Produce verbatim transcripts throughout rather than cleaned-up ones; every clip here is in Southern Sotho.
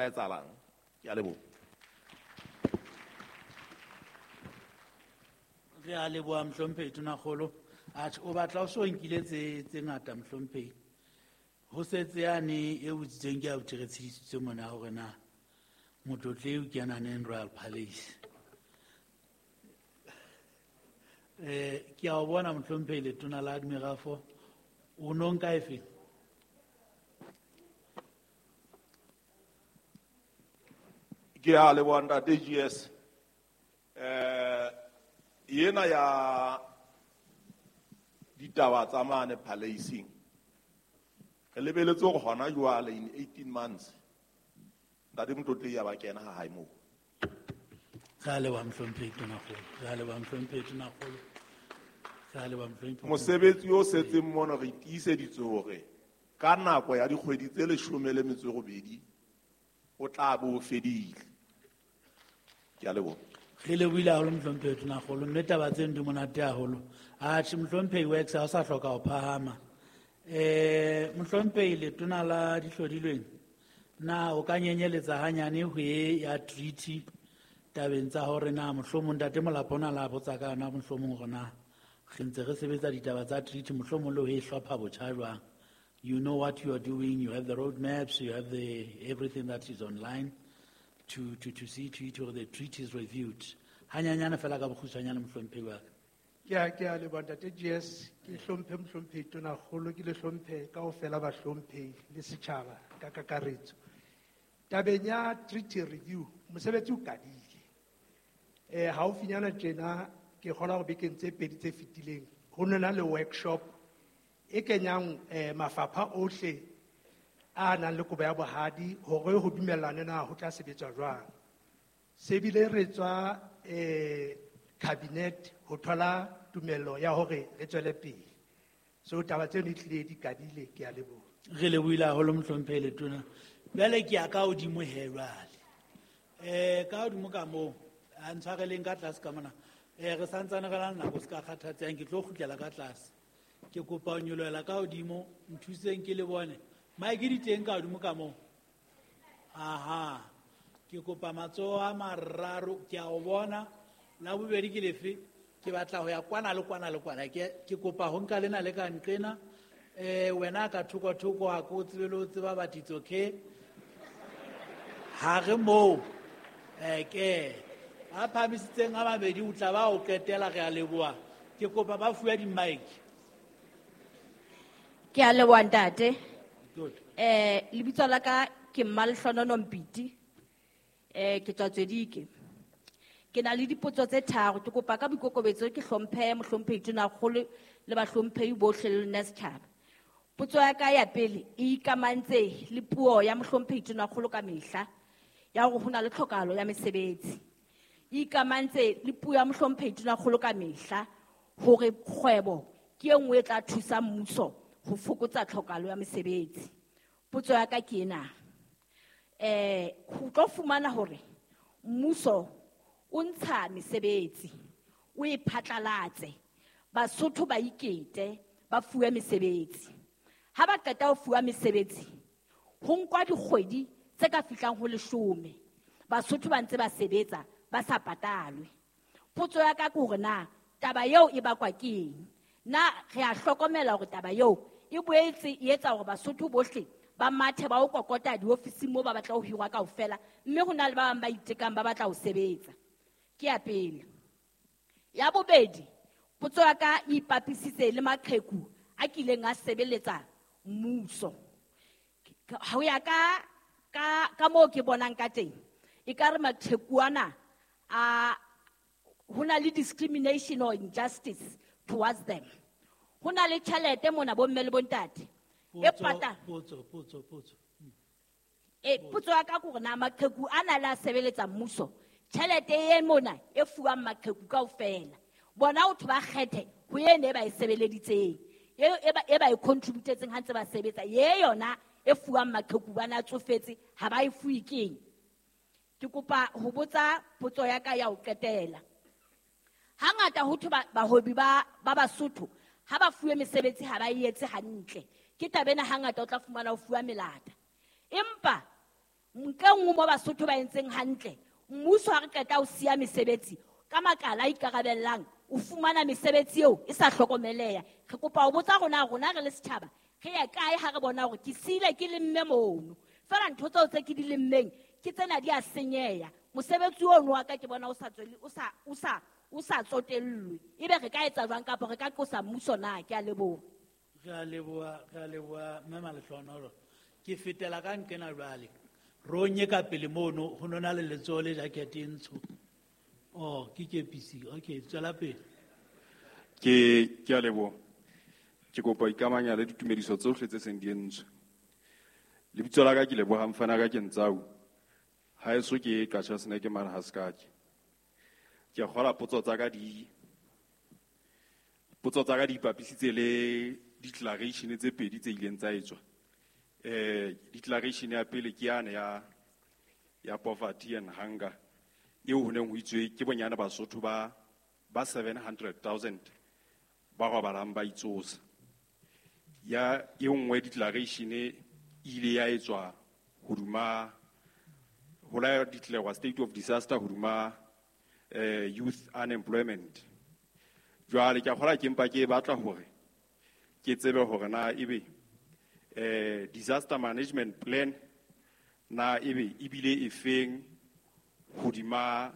Etsahalang. Ke a leboha. Re a leboha mohlomphehi Tonakgolo. Atjhe, o batla o so nkile tse tse ngata mohlomphehi. Ho setse yane e botsitsweng ke abuti re tshedisitswe mona hore na motlotlehi o kena neng Royal Palace. Eh, ke a o bona mohlomphehi letona la Admirafo, o no nka efe? Ke a leboha ntate G S. Eh, ena ya ditaba tsa mane Palace-ing. Re lebeletse hore hona jwale in eighteen months ntate Motlotlehi ya ba kena ha hae moo. Re a leboha mohlomphehi Tonakgolo. Re a leboha mohlomphehi Tonakgolo. Re a leboha mohlomphehi. Mosebetsi o setseng mono re tiiseditse hore ka nako ya dikgwedi tse leshome le metso e robedi o tla bo o fedile. Ke a leboha. Re lebohile haholo mohlomphehi Tonakgolo, mme taba tseno di monate haholo. Atjhe, mohlomphehi Works ha o sa hloka ho phahama. Eh, mohlomphehi letona la dihlodilweng, na o ka nyenyeletsa hanyane ho e ya treaty tabeng tsa hore na mohlomong ntate Molapo ona la botsa ka yona, mohlomong hore na re ntse re sebetsa ditaba tsa treaty, mohlomong le ho e hlopha botjha jwang? You know what you are doing, you have the road maps, you have the everything that is online to, to, to see to it or the treaty is reviewed. Hanyanyane fela ka bokgutshwanyane mohlomphehi wa ka. Ke a, ke a leboha ntate G S, ke hlomphe mohlomphehi Tonakgolo, ke le hlomphe kaofela bahlomphehi le setjhaba ka kakaretso. Tabeng ya treaty review, mosebetsi o qadile. Eh, haufinyana tjena ke kgolwa hore bekeng tse pedi tse fetileng ho no na le workshop e kenyang, eh, mafapha ohle a nang le kobo ya bohadi hore ho dumellane na ho tla sebetswa jwang. Se bile re tswa, eh, cabinet ho thola tumello ya hore re tswele pele. So taba tseno e tlile di qadile, ke a leboha. Re lebohile haholo mohlomphehi Letona. Jwale ke ya ka hodimo he jwale. Eh, ka hodimo ka moo, a ntshwareleng ka tlase ka mona. Eh, re santsane re na le nako, se ka kgathatsehang, ke tlo kgutlela ka tlase. Ke kopa ho nyolohela ka hodimo, nthuseng ke le bone. Mike di teng ka hodimo ka moo. Aha. Ke kopa matsoho a mararo, ke a o bona. La bobedi ke lefe? Ke batla ho ya kwana le kwana le kwana. Ke, ke kopa ho nka lena le ka nqena. Eh, wena ka thoko thoko ha ko tsebe le ho tseba, but it's okay. Ha re moo. Eh, ke a phahamisitseng a mabedi o tla ba o qetela, re a leboha. Ke kopa ba fuwe di-mic. Ke a leboha ntate. Good. Eh, lebitso la ka ke Mmalehlonono Mpiti. Eh, ke tswa Tswedike. Ke na le dipotso tse tharo, ke kopa ka boikokobetso ke hlomphe mohlomphehi Tonakgolo le bahlomphehi bohle le lona setjhaba. Potso ya ka ya pele e ikamantse le puo ya mohlomphehi Tonakgolo ka mehla ya hore ho na le tlhokahalo ya mesebetsi. E ikamantse le puo ya mohlomphehi Tonakgolo ka mehla hore kgwebo ke e nngwe e tla thusa mmuso ho fokotsa tlhokahalo ya mesebetsi. Potso ya ka ke ena. Eh, ho tlo fumana hore mmuso o ntsha mesebetsi, o e phatlalatse, Basotho ba ikete, ba fuwe mesebetsi. Ha ba qeta ho fuwa mesebetsi, ho nkwa dikgwedi tse ka fihlang ho leshome. Basotho ba ntse ba sebetsa, ba sa patalwe. Potso ya ka ke hore na taba eo e bakwa ke eng? Na re a hlokomela hore taba eo e boetse e etsa hore Basotho bohle ba mathe ba o kokota diofising moo ba batla ho hirwa kaofela, mme ho na le ba bang ba itekang ba batla ho sebetsa. Ke ya pele. Ya bobedi, potso ya ka e ipapisitse le maqheku a kileng a sebeletsa mmuso. Ho ya ka, ka, ka moo ke bonang ka teng, ekare maqheku ana a, ho na le discrimination or injustice towards them. Ho na le tjhelete mona bomme le bontate. E Potso, pata- potso, potso, potso. E, potso ya ka ke hore na maqheku ana le a sebeletsa mmuso, tjhelete e mona e fuwang maqheku kaofela, bona ho thwe ba kgethe ho e ne ba e sebeleditseng, e, e ba, e ba e contributetseng ha ntse ba sebetsa, ye yona e fuwang maqheku ba na tsofetse ha ba e fuwe keng? Ke kopa ho botsa potso ya ka ya ho qetela. Hangata ho thwe ba, bahwebi ba, ba Basotho ha ba fuwe mesebetsi ha ba e etse hantle. Ke taba ena hangata o tla fumana ho fuwa melata. Empa Nka nngwe mo Basotho ba entseng hantle, mmuso ha re qeta ho siya mesebetsi ka makala a ikarabellang, o fumana mesebetsi eo e sa hlokomeleha. Re kopa ho botsa rona, rona re le setjhaba, re ya kae ha re bona hore ke siile ke lemme mono? Feela ntho tseo tse ke di lemmeng ke tsena di a senyeha. Mosebetsi ono wa ka ke bona o sa tswele, o sa, o sa, o sa tsotellwe. Ebe re ka etsa jwang kapa re ka qosa mmuso na? Ke a leboha. Re a leboha, re a leboha mme Malehlohonolo. Ke fetela ka nqena jwale. Ronye ka pele mono ho nona le letsoho le jacket e ntsho. Oh, ke kepisi. Okay, tswela pele. Ke, ke a leboha. Ke kopa ho ikamanya le ditumediso tsohle tse seng di entswe. Lebitso la ka ke Lebohang Mfana ka ke Ntsau. Haeso ke Qacha Snake mane ha Sekake. Ke a kgolwa potso tsa ka di, potso tsa ka di ipapisitse le declaration tse pedi tse ileng tsa etswa. Eh, declaration ya pele ke yane ya, ya poverty and hunger. Eo ho neng ho itswe ke bonyane Basotho ba, ba seven hundred thousand ba robalang ba itsosa. Ya e nngwe declaration e ile ya etswa hoduma ho la declare state of disaster hoduma, eh, youth unemployment. Jwale ke a kgolwa ke mpa ke batla hore ke tsebe hore na ebe, eh, disaster management plan na ebe ebile e feng hodima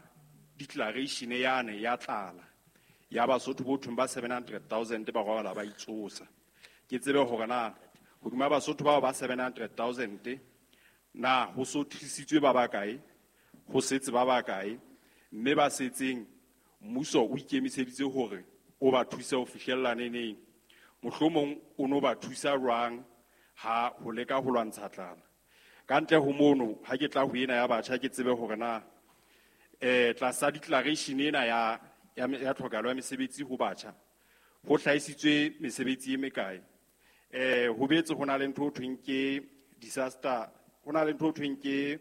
declaration yane ya tlala ya Basotho bo thong ba seven hundred thousand ba robala ba itsosa. Ke tsebe hore na hodima Basotho bao ba seven hundred thousand na ho so thusitswe ba bakae, ho setse ba bakae, mme ba setseng mmuso o ikemiseditse hore o ba thuse ho fihlella neneng. Mohlomong o no ba thusa jwang ha ho leka ho lwantsha tlala. Ka ntle ho mono, ha ke tla ho ena ya batjha, ke tsebe hore na, eh, tlasa declaration ena ya, ya, ya tlhokahalo ya mesebetsi ho batjha, ho hlahisitswe mesebetsi e mekae. Eh, ho boetse ho na le ntho ho thweng ke disaster, ho na le ntho ho thweng ke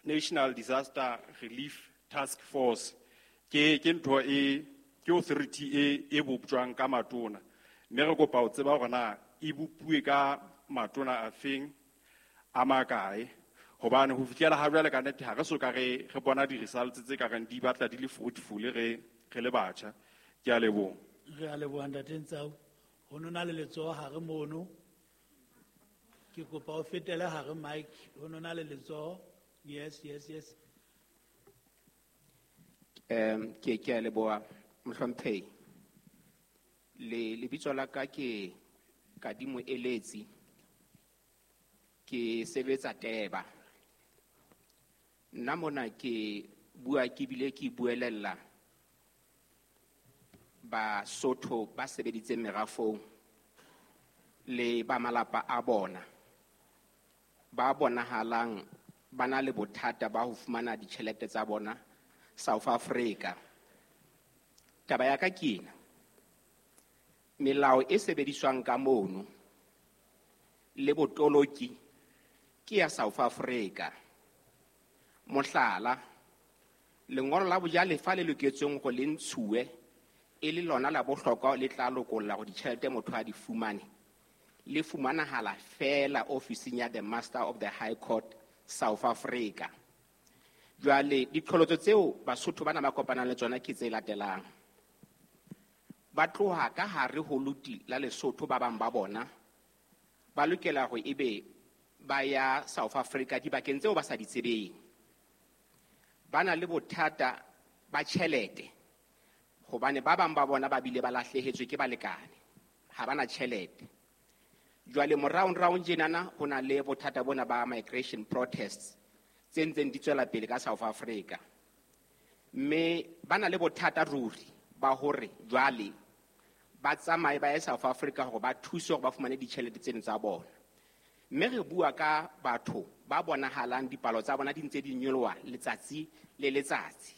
National Disaster Relief Task Force. Ke, ke ntho e, ke authority e, e boptjwang ka matona. Mme re kopa ho tseba hore na e bopuwe ka matona a feng, a makae. Hobane ho fihlela ha jwale ka nnete ha re so ka re, re bona di-results tse ka reng di batla di le fruitful re, re le batjha. Ke a leboha. Re a leboha ntate Ntsau. Ho nona le letsoho hare mono. Ke kopa o fetele hare mic. Ho nona le letsoho. Yes, yes, yes. Em, ke, ke a leboha mohlomphehi. Le lebitso la ka ke Kadimo Eletsi. Ke sebetsa Teba. Nna mona ke bua ke bile ke buelella Basotho ba sebeditseng merafong le ba malapa a bona ba bonahalang ba na le bothata ba ho fumana ditjhelete tsa bona South Africa. Taba ya ka ke ena. Melao e sebediswang ka mono le botoloki ke ya South Africa. Mohlala, lengolo la bojalefa le loketsweng hore le ntshuwe e le lona la bohlokwa le tla lokolla hore ditjhelete motho a di fumane, le fumanahala feela ofising ya the Master of the High Court South Africa. Jwale diqholotso tseo Basotho bana ba kopanang le tsona ke tse latelang. Ba tloha ka hare ho luti la Lesotho ba bang ba bona ba lokela hore ebe ba ya South Africa dibakeng tseo ba sa di tsebeng. Ba na le bothata ba tjhelete hobane ba bang ba bona ba bile ba lahlehetswe ke balekane, ha ba na tjhelete. Jwale moraonraong tjenana ho na le bothata bona ba migration protests tse ntseng di tswela pele ka South Africa. Mme ba na le bothata ruri ba hore jwale ba tsamaye ba ye South Africa hore ba thuse hore ba fumane ditjhelete tseno tsa bona. Mme re bua ka batho ba bonahalang dipalo tsa bona di ntse di nyoloha letsatsi le letsatsi.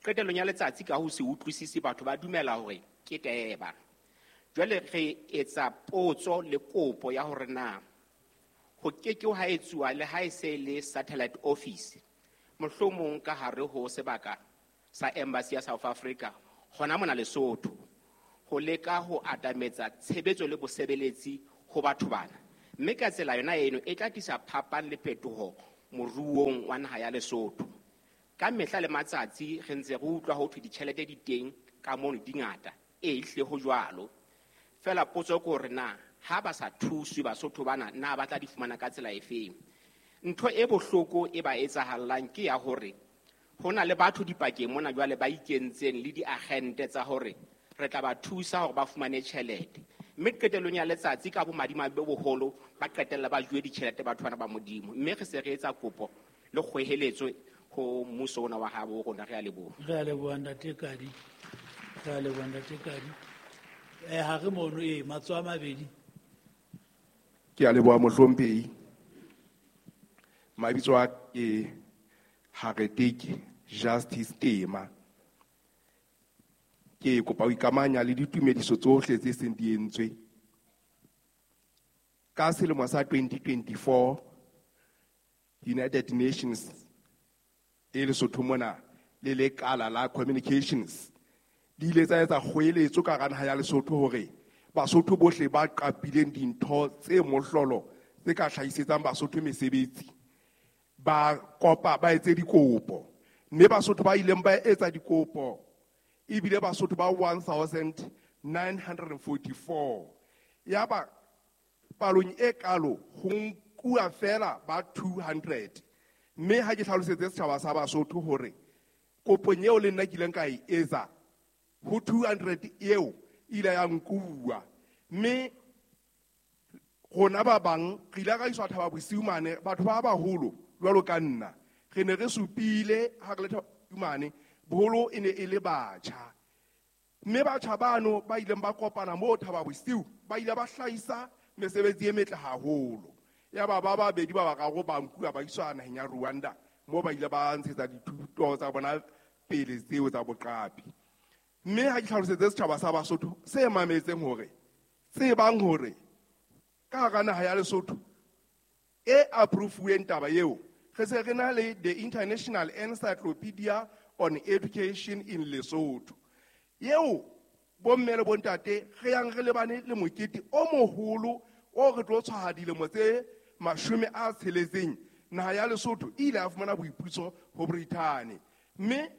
Qetellong ya letsatsi ka ho se utlwisise batho ba dumela hore ke teba. Jwale re etsa potso le kopo ya hore na ho ke ke ha etsuwa le ha e se le satellite office mohlomong ka hare ho sebaka sa embassy ya South Africa hona mona Lesotho ho leka ho atametsa tshebetso le bosebeletsi ho batho bana. Mme ka tsela yona eno e tla tlisa phapang le phetoho moruong wa naha ya Lesotho. Ka mehla le matsatsi re ntse re utlwa ho thwe ditjhelete di teng ka mono di ngata. E ehlile ho jwalo. Feela potso ke hore na ha ba sa thuswe Basotho bana na ba tla di fumana ka tsela efeng. Ntho e bohloko e ba etsahallang ke ya hore ho na le batho dipakeng mona jwale ba ikentseng le diagente tsa hore re tla ba thusa hore ba fumane tjhelete. Mme qetellong ya letsatsi ka bomadimabe bo boholo ba qetella ba juwe ditjhelete batho bana ba Modimo. Mme re se re etsa kopo le kgweheletso ho mmuso ona wa habo rona. Re a leboha. Re a leboha ntate Kadi. Re a leboha ntate Kadi. Eh, ha re mono e matsoho a mabedi. Ke a leboha mohlomphehi. Mabitso a ke Hareteke Justice Tema. Ke kopa ho ikamanya le ditumediso tsohle tse seng di entswe. Ka selemo sa twenty twenty-four, United Nations e Lesotho mona le lekala la communications di ile tsa etsa kgoeletso ka hara naha ya Lesotho hore Basotho bohle ba qapileng dintho tse mohlolo tse ka hlahisetsang Basotho mesebetsi ba kopa ba etse dikopo. Mme Basotho ba ileng ba etsa dikopo ebile Basotho ba one thousand nine hundred and forty-four. Yaba palong e kalo ho nkuwa fela ba two hundred. Mme ha ke hlalosetse setjhaba sa Basotho hore kopong eo le nna ke ileng ka e etsa ho two hundred eo ile ya nkuwa. Mme rona ba bang re ile ra iswa Thaba Bosiu mane, batho ba baholo jwalo ka nna re ne re supile ha re le Thaba Bosiu mane, boholo e ne e le batjha. Mme batjha bano ba ileng ba kopana moo Thaba Bosiu ba ile ba hlahisa mesebetsi e metle haholo. Yaba ba babedi ba bararo ba nkuwa ba iswa naheng ya Rwanda moo ba ile ba ntshetsa dithuto tsa bona pele tseo tsa boqapi. Mme ha ke hlalosetse setjhaba sa Basotho se mametseng hore tsebang hore ka hara naha ya Lesotho e approve-uweng taba eo, re se re na le the International Encyclopedia on Education in Lesotho. Eo bomme le bontate re yang re lebane le mokete o moholo o re tlo tshwaha dilemo tse mashome a tsheletseng naha ya Lesotho e ile ya fumana boipuso ho Brithani. Mme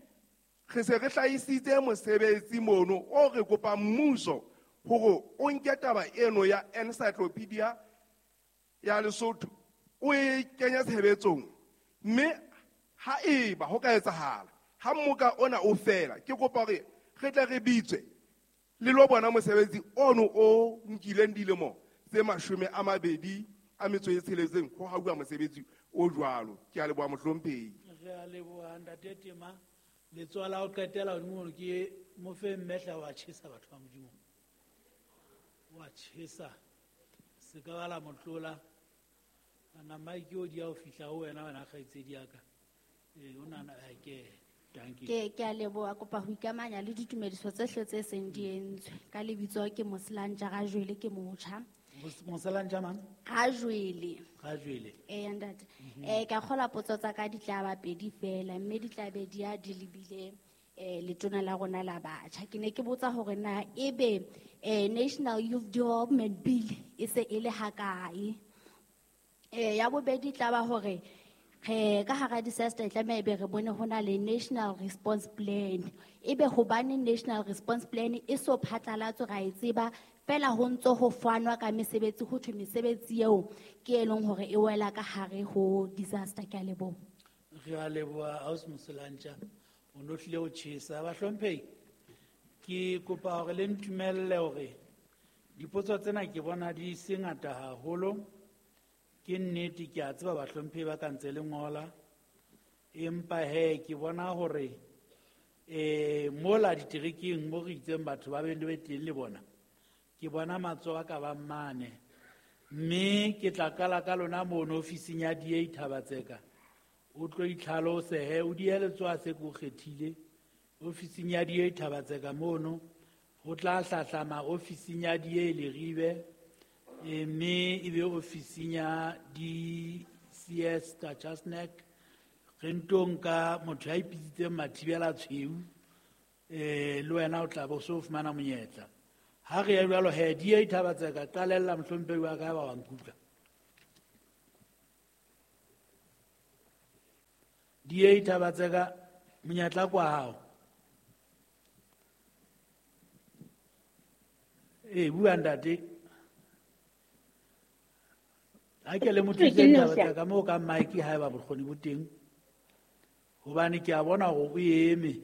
re se re hlahisitse mosebetsi mono o re kopang mmuso hore o nke taba eno ya encyclopedia ya Lesotho o e kenye tshebetsong. Mme ha eba ho ka etsahala ha mmoka ona o fela, ke kopa hore re tle re bitswe le lo bona mosebetsi ono o nkileng dilemo tse mashome a mabedi a metso e tsheletseng ho hauwa mosebetsi o jwalo. Ke a leboha mohlomphehi. Re a leboha ntate Tema. Letsoho la ho qetela hodimo hore ke mo fe mmehla wa tjhesa batho ba Modimo. Wa tjhesa. Se ka ba la mo tlola. Ana mike o di ya ho fihla ho wena, wena kgaitsedi ya ka. Eh, o nahana, eh, ke, thank you. Ke, ke a leboha, kopa ho ikamanya le ditumediso tsohle tse seng di entswe. Ka lebitso ke Moselantja Rajwele, ke motjha. Mos-, Moselantja mang? Rajwele. Rajwele. Eh, ntate. Mhm. Eh, ka kgola potso tsa ka di tla ba pedi fela, mme di tla be di ya di lebile, eh, letona la rona la batjha. Ke ne ke botsa hore na ebe, eh, National Youth Development Bill e se e le hakae? Eh, ya bobedi tla ba hore re ka hara disaster e tlameha ebe re bone ho na le National Response Plan. Ebe hobane National Response Plan e so phatlalatswe ra e tseba, fela ho ntso ho fanwa ka mesebetsi, ho thwe mesebetsi eo ke e leng hore e wela ka hare ho disaster. Ke a leboha. Re a leboha ausi Moselantja, o no hlile o tjhesa. Bahlomphehi, ke kopa hore le ntumelle hore dipotso tsena ke bona di se ngata haholo. Ke nnete, ke a tseba bahlomphehi ba ka ntse le ngola, empa he ke bona hore, eh, mola diterekeng mo re itseng batho ba be le teng le bona, ke bona matsoho a ka bang mane. Mme ke tla qala ka lona mono ofising ya D A Thabatseka. O tlo itlhalose he, o dihe letsoho a se ke o kgethile. Ofising ya D A Thabatseka mono, ho tla hlahlama ofising ya D A Leribe, eh, mme ebe ofising ya D C S Tachasnek. Re nto nka motho ya ipitsitseng Mathibela Tshweu, eh, le wena o tla bo so fumana monyetla. Ha re ya jwalo he, D A Thabatseka, qalella mohlomphehi wa ka ba wa nkutlwa. D A Thabatseka monyetla kwa hao. Eh, bua ntate. Ha ke le mo thuse Thabatseka mo ka mic haeba bokgoni bo teng. Hobane ke a bona hore o eme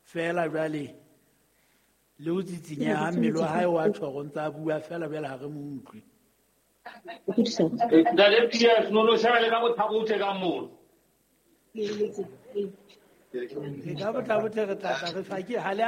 fela jwale le o tsitsinya ha mmele wa hae wa tjho go ntsa bua fela jwale ha re mo utlwe. Ntate P S no no sheba le ka bothabothe ka moo.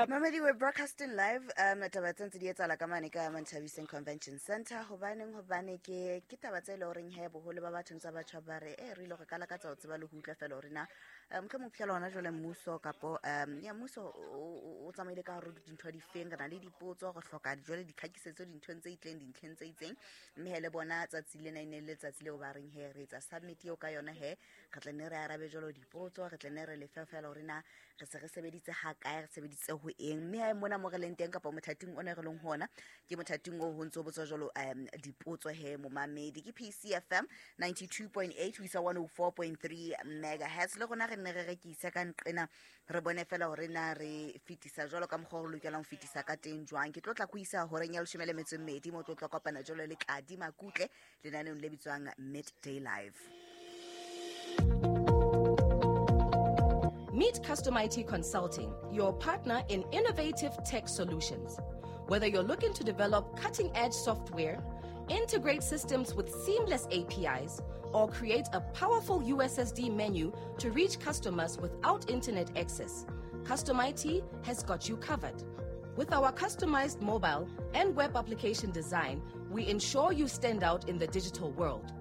Mamedi, we're broadcasting live um taba tse ntse di etsahala ka mane ka Manthabiseng Convention Center. Hobaneng hobane ke ke taba tse le horeng he boholo ba batho ntse ba tjha ba re eh re ile go kala ka tsa o tseba le ho utlwa fela hore na mohlomong phela hona jwale mmuso kapo um ya mmuso o tsamaile ka hore dintho di feng, re na le dipotso re hloka jwale ditlhakisetso dinthong tse itleng dintlheng tse itseng, mme he le bona tsatsi lena e ne le letsatsi leo ba reng he re etsa submit eo ka yona he re tla nne re arabe jwalo dipotso, re tla nne re lefe fela hore na re se re sebeditse ha kae, re sebeditse ho eng. Mme ha mona mo re leng teng kapa mothating ona re leng hona ke mothating o ho ntso botswa jwalo um dipotso he momamedi. Ke P C F M ninety-two point eight ho isa one oh four point three megahertz. Le rona re nne re rekisa ka nqena re bone fela hore na re fetisa jwalo ka mokgwa o re lokelang ho fetisa ka teng jwang. Ke tlo tla go isa horeng ya leshome le metso e mmedi mo tlo tla kopana jwalo le Tladi Makutle lenaneong le bitswang Midday Live. Meet Custom I T Consulting, your partner in innovative tech solutions. Whether you're looking to develop cutting-edge software, integrate systems with seamless A P Is, or create a powerful U S S D menu to reach customers without internet access, Custom I T has got you covered. With our customized mobile and web application design, we ensure you stand out in the digital world.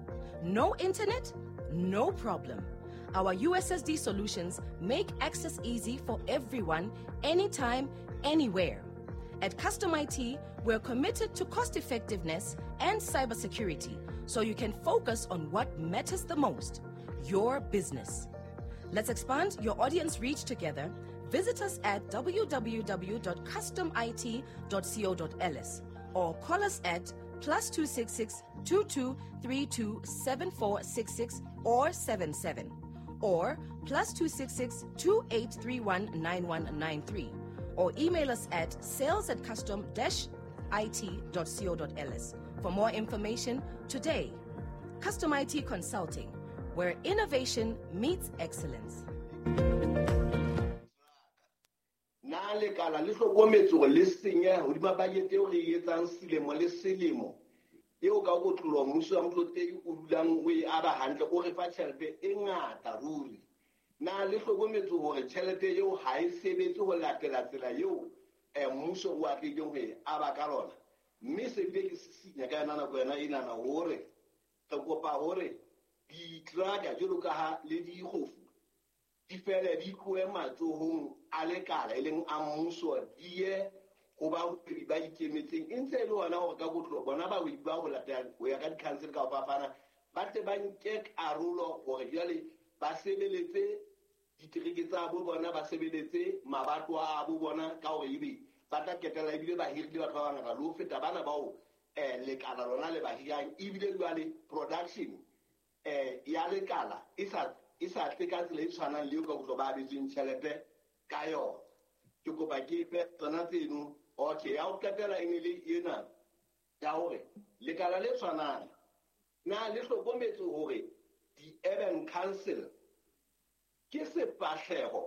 No internet? No problem. Our U S S D solutions make access easy for everyone, anytime, anywhere. At Custom I T, we're committed to cost effectiveness and cybersecurity, so you can focus on what matters the most, your business. Let's expand your audience reach together. Visit us at w w w dot custom I T dot co dot l s or call us at plus two six six, two two three two, seven four six six or seven seven, or plus two six six, two eight three one, nine one nine three, or email us at sales at custom dash I T dot co dot l s for more information today. Custom I T Consulting, where innovation meets excellence. Na lekala le hlokometse hore le senye hodima budget eo re e etsang selemo le selemo eo ka kotloloha mmuso wa Motlotlegi o dulang o e aba hantle, o re fa tjhelete e ngata ruri. Na le hlokometse hore tjhelete eo ha e sebetse ho latela tsela eo eh mmuso o atlehileng ho e aba ka lona, mme se bile ke sisinya ka yona nako yona enana hore re kopa hore ditraka jwalo ka ha le dikgofu di fele di tlohe matsohong a lekala e leng a mmuso di ye ho bahwebi ba ikemetseng. E ntse e le hona hore ka kotloloho bona bahwebi ba ho latela ho ya ka di-council ka ho fapana ba tle ba nke karolo hore jwale ba sebeletse ditereke tsa bo bona, ba sebeletse mabatowa a bo bona ka hore ebe ba tla qetella ebile ba hirile batho ba bangata le ho feta bana bao eh lekala lona le ba hirang. Ebile jwale production eh ya lekala e sa e sa tle ka tsela e tshwanang le eo ka kotloloho ba abetsweng tjhelete ka yona. Ke kopa ke fe tsona tseno. Okay, ya ho qetela e ne le ena ya hore lekala le tshwanang na le hlokometse hore di-urban council ke sefahleho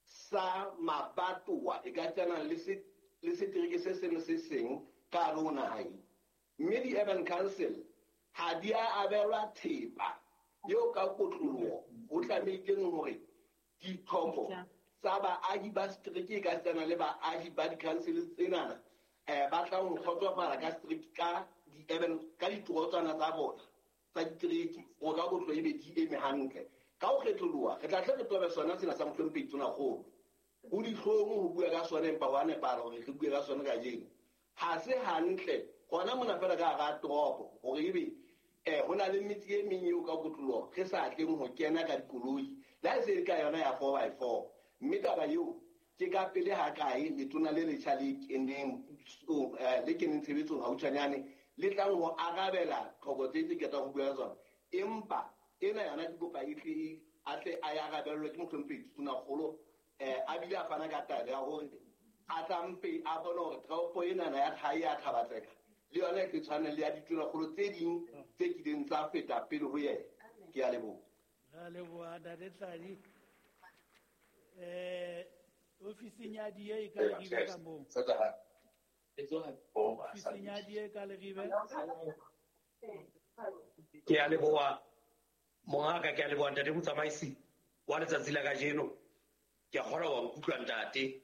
sa mabatowa e ka tshwanang le se le setereke se seng se seng ka hare ho naha, mme di-urban council ha di a abelwa thepa eo ka kotloloho ho tlamehileng hore ditlhoko tsa baahi ba setereke e ka tshwana le baahi ba di-council tsenana eh ba tlang ho kgotsofala ka setereke ka di-urban ka ditorotswana tsa bona tsa ditereke hore ka kotloloho ebe di eme hantle. Ka ho kgetholoha re tla tle re tobe sona sena sa Mohlomphehi Tonakgolo. Ho dihlong ho bua ka sona empa ho a nepahala hore re bue ka sona kajeno. Ha se hantle hona mona fela ka hara toropo hore ebe eh ho na le metse e meng eo ka kotloloho re sa tleng ho kena ka dikoloi le ha e se le ka yona ya four by four. Mme taba eo ke ka pele ha kae letona le letjha le keneng le keneng tshebetsong hautshwanyane le tlang ho arabela tlhoko tse tse ketang ho bua ka tsona, empa ena yona ke kopa e tle e a tle a ya arabellwe ke mohlomphehi Tonakgolo eh a bile a fana ka taelo ya hore a tlampe a bone hore toropo enana ya hae ya Thabatseka le yona e tshwane le ya ditonakgolo tse ding tse kileng tsa feta pele ho yena. Ke a leboha. Re leboha Ntate Tladi. Eh ofising ya D A e ka Leribe ka moo. Ofising ya D A ka Leribe. Ke a leboha mongaka, ke a leboha ntate motsamaisi wa letsatsi la kajeno. Ke a kgolwa wa nkutlwa ntate.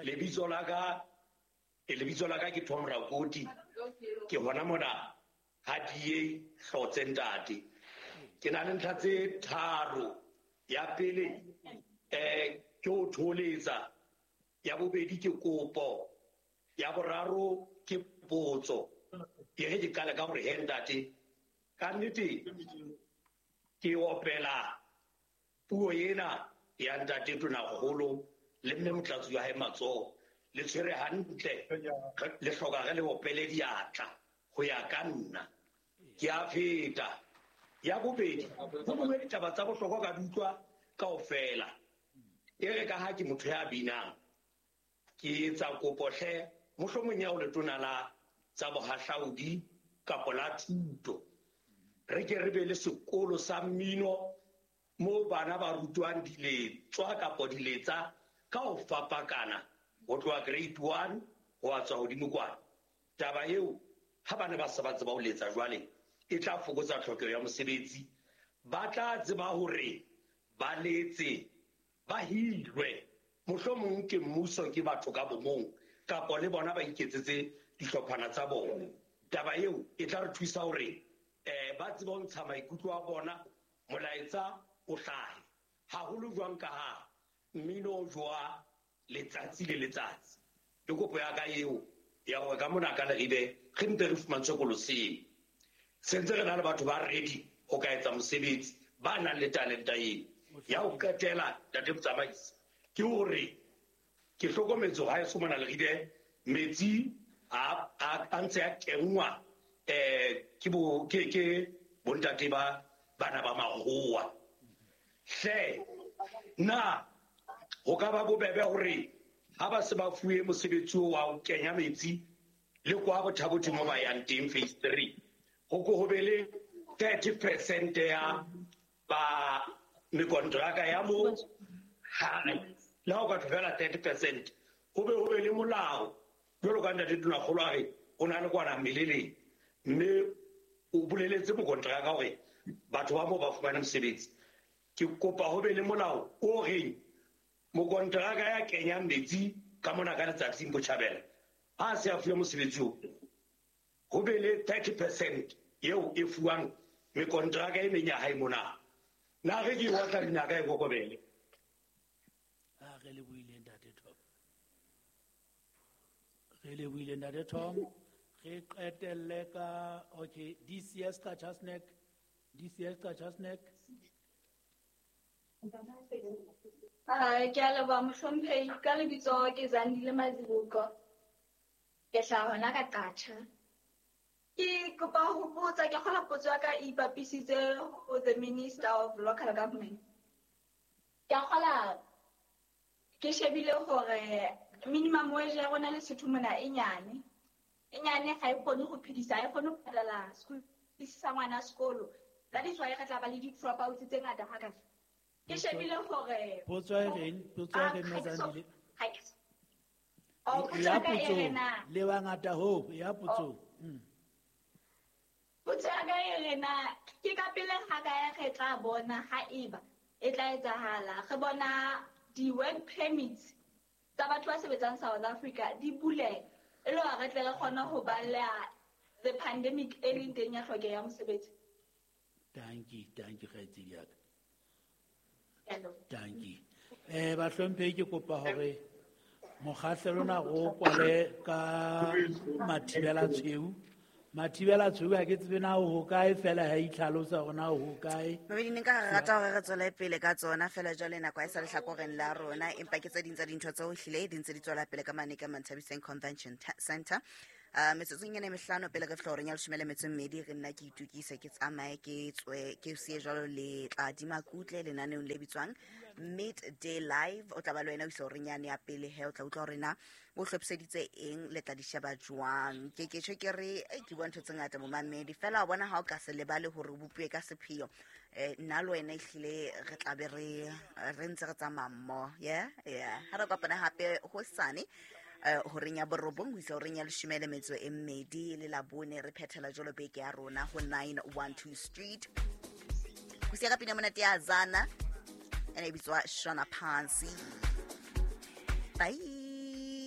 Lebitso la ka lebitso la ka ke Tom Rakoti. Ke hona mona ha D A hlotse ntate. Ke na le ntlha tse tharo. Ya pele eh ke ho tholetsa, ya bobedi ke kopo, ya boraro ke potso. E re ke qale ka hore he ntate, ka nnete ke opela puo ena ya ntate Tonakgolo le mme Motlatsi wa hae matsoho le tshwere hantle, le hloka re le opele diatla ho ya ka nna. Ke a feta. Ya bobedi, ho bue ditaba tsa bohlokwa ka di utlwa kaofela. E re ka ha ke motho ya binang, ke etsa kopo hle mohlomong ya ho letona la tsa bohahlaudi kapa la thuto, re ke re be le sekolo sa mmino moo bana ba rutwang diletswa kapa diletsa ka ho fapakana ho tloha grade one ho a tswa hodimo kwana. Taba eo ha bana ba sa ba tseba ho letsa jwale e tla fokotsa tlhokeho ya mosebetsi. Ba tla tseba hore ba letse, ba hirwe, mohlomong ke mmuso, ke batho ka bomong, kapa le bona ba iketsetse dihlophana tsa bona. Taba eo e tla re thusa hore eh ba tsebe ho ntsha maikutlo a bona, molaetsa o hlahe haholo jwang ka ha mmino o jwa letsatsi le letsatsi. Ke kopo ya ka eo ya hore ka mona ka Leribe re mpe re fumantshwe sekolo seo. Se ntse re na le batho ba ready ho ka etsa mosebetsi, ba nang le talenta eo. Ya ho qetela ntate motsamaisi ke hore ke hlokometse ha e mona Leribe metsi a a ntse a kenngwa eh ke bo ke ke bontate ba bana ba makgowa. Hle na ho ka ba bobebe hore ha ba se ba fuwe mosebetsi wa ho kenya metsi le kwa Bothabothe mo ba yang teng phase three, ho ko ho be le thirty percent ya ba mekontraka ya mo hae, le ha o ka tlohela thirty percent, ho be ho be le molao jwalo ka ntate Tonakgolo a re o na le kwana mmeleleng, mme o boleletse mokontraka hore batho ba moo ba fumane mosebetsi. Ke kopa ho be le molao o reng mokontraka ya kenyang metsi ka mona ka letsatsing botjhabela ha se a fuwe mosebetsi oo, ho be le thirty percent eo e fuwang mekontraka e meng ya hae mona. Na re ke watla dinaka e kokobele. A re lebohile ntate Tom. Re lebohile ntate Tom. Re qetelle ka okay D C S ka Chasnek, D C S ka Chasnek. Ah, ke a leboha mohlomphehi. Ka lebitso ke Zandile Mazibuko. Ke hlaha hona ka Qacha. Ke kopa ho botsa, ke kgola potso ya ka e ipapisitse ho the Minister of Local Government. Ke a kgola ke shebile hore minimum wage ya rona Lesotho mona e nyane. E nyane ha e kgone ho phedisa, ha e kgone ho patala school fees sa ngwana sekolo. That is why re tla ba le di-dropouts tse ngata hakana. Ke shebile hore potso e reng, potso e reng Mazandile. Ha ke Oh, potso ya ka e re na. Le bangata ho ya potso. Mm. Potso ya ka e re na ke ka pele ha ka ya re tla bona ha eba e tla etsahala. Re bona di-work permits tsa batho ba sebetsang South Africa di buleha e le hore re tle re kgone ho baleha the pandemic e leng teng ya tlhokeho ya mosebetsi. Dankie, dankie kgaitsedi ya ka. Dankie. Eh bahlomphehi ke kopa hore mokgahlelo ona ro kwale ka mathibela tshweu. Mathibela tshweu ha ke tsebe na ho kae fela ha itlhalosa hore na ho kae. Mabedi ne nka rata hore re tswele pele ka tsona fela jwale nako ha e sa lehlakoreng la rona, empa ke tse ding tsa dintho tseo ehlile di ntse di tswela pele ka mane ka Manthabiseng Convention Center. Uh, metsotsong ena e mehlano pele re fihla horeng ya leshome le metso e mmedi, re nna ke itokise ke tsamaye ke tswe ke siye jwalo le tla Kutle lenaneong le bitswang Midday Live. O tla ba le wena o isa horeng yane ya pele he, o tla utlwa hore na o hlophiseditse eng, le tla di sheba jwang. Ke ke tjho ke re, eh, ke bua ntho tse ngata momamedi, fela wa bona ha o ka se lebale hore o bopuwe ka sepheo. Eh, nna le wena ehlile re tla be re, re ntse re tsamaya mmoho. Yeah, yeah. Ha re kopana hape hosane, eh, horeng ya borobong ho isa horeng ya leshome le metso e mmedi, le Labone re phethela jwalo beke ya rona ho nine one two Street. Ho siya ka pina monate ya Zana, ene e bitswa Shona Pansi. Bye.